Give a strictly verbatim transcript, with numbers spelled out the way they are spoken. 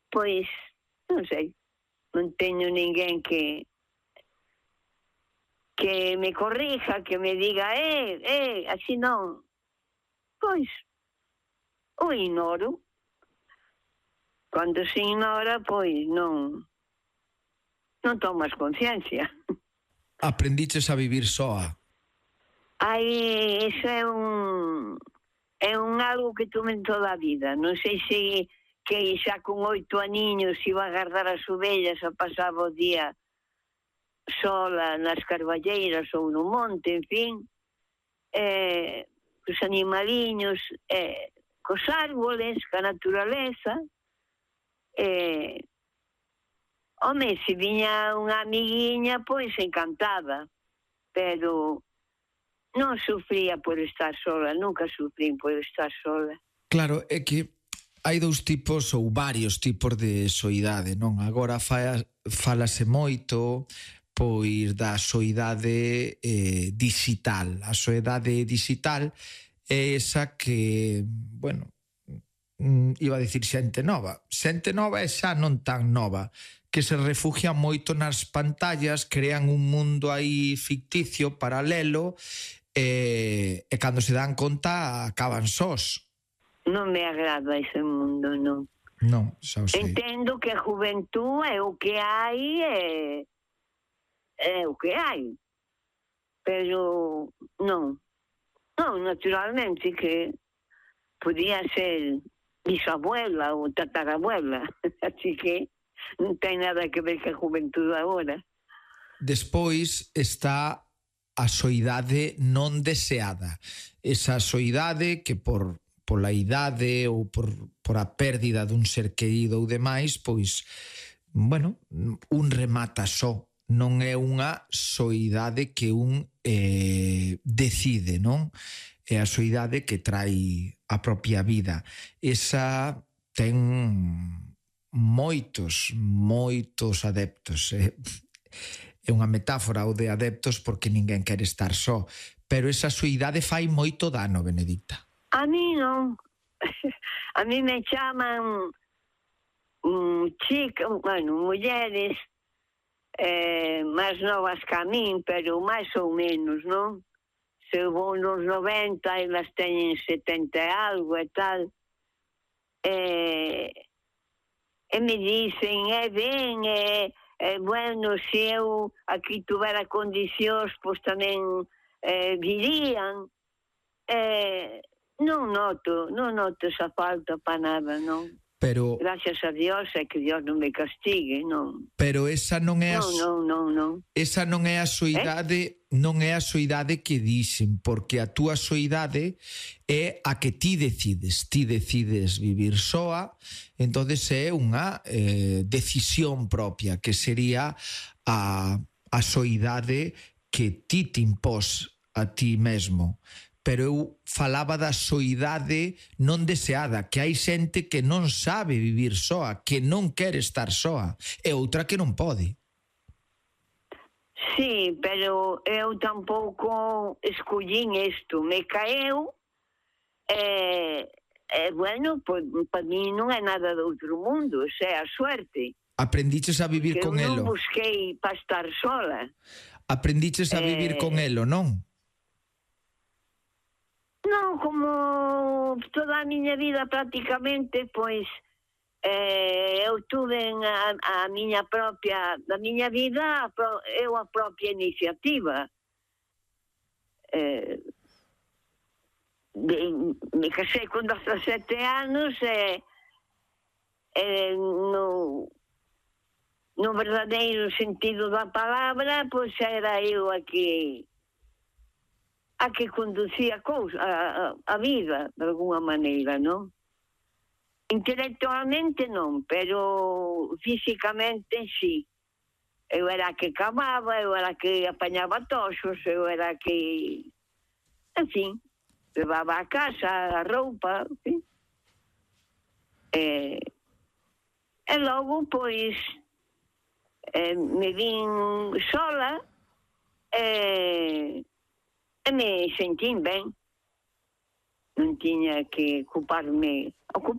pois, non sei, non teño ninguén que que me corrija, que me diga, eh, eh, así non. Pois, o ignoro. Cando se ignora, pois non non tomas conciencia. Aprendiches a vivir soa? Ai, iso é un é un algo que tuve en toda a vida. Non sei se que xa con oito aniños iba a guardar as ovellas e pasaba o día sola nas carballeiras ou no monte, en fin, eh, os animaliños, eh, cos árboles, ca naturaleza. Eh, home, se viña unha amiguiña, pois encantada, pero non sufría por estar sola, nunca sufrín por estar sola. Claro, é que hai dous tipos ou varios tipos de soidade, non? Agora fa, falase moito pois da soidade eh, digital. A soidade digital é esa que, bueno, iba a dicir xente nova. Xente nova é xa non tan nova, que se refugian moito nas pantallas, crean un mundo aí ficticio, paralelo, e, e cando se dan conta acaban sós. Non me agrada ese mundo, non. Non, xa o sei. Entendo que a juventud é o que hai, é, é o que hai. Pero non. Non, naturalmente que podía ser bisabuela ou tatarabuela. Así que non ten nada que ver que a juventud agora. Despois está a soidade non deseada. Esa soidade que por pola idade ou por, por a pérdida dun ser querido ou demais, pois, bueno, un remata só. Non é unha soidade que un eh, decide, non? É a soidade que trai a propia vida. Esa ten moitos, moitos adeptos. É, é unha metáfora o de adeptos porque ninguén quere estar só. Pero esa soidade fai moito dano, Benedicta. A mí non. A mí me chaman um, chicas, bueno, mulleres eh, máis novas que a min, pero máis ou menos, non? Se vou nos noventa, elas teñen setenta e algo e tal. E, e me dicen, é ben, é, é bueno, se eu aquí tuvera condicións, pois tamén eh, virían. Eh, non noto, non noto esa falta para nada, non. Pero, gracias a Dios é que Dios non me castigue, non. Pero esa non é a non, non, non, non. Esa non é a soidade, eh? non é a soidade que dixen, porque a túa soidade é a que ti decides, ti decides vivir soa, entonces é unha eh, decisión propia, que sería a, a soidade que ti te impós a ti mesmo. Pero eu falaba da soidade non deseada, que hai xente que non sabe vivir soa, que non quere estar soa, e outra que non pode. Sí, pero eu tampouco escollín isto, me caeu, e, e bueno, pues, para mí non é nada de outro mundo, o sea, a suerte. Aprendiches a vivir que con elo. Eu non busquei para estar sola. Aprendiches a vivir eh... con elo, non? Non, como toda a miña vida prácticamente, pois eh, eu tuve a, a miña propia, a miña vida, eu a propia iniciativa. Eh, de, me casei con dezasete anos e eh, no, no verdadeiro sentido da palabra, pois era eu a que a que conducía a, cousa, a, a vida, de alguna maneira, non? Intelectualmente non, pero físicamente sí. Eu era a que camaba, eu era a que apañaba toxos, eu era a que... En fin, levaba a casa, a roupa, en fin. E, e logo, pois, eh, me vin sola e... E me sentín ben. Non tiña que ocuparme, ocupar